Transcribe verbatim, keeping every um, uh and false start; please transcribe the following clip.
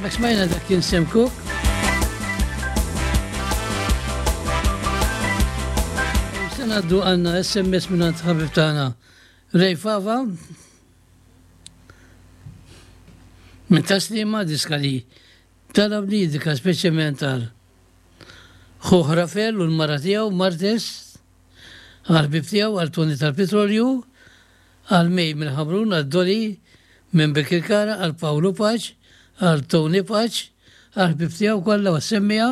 Hemmhekk smajna dak kien Sam Cooke. Se ngħaddu għandna S M S minn ħabib tagħna Ray Fava minn Tas-Sliema, diska li talab li dika speċjalment għal ħuh Rafael u l-mara tiegħu Martes, għal ħbib tiegħu għal Tony tal-Petrolju, għal Mej minn Ħamrun, għal Doli minn Birkirkara, għal Paolo Paċ, għal Tony Paċ, għal ħbib tiegħu kollha u semmija.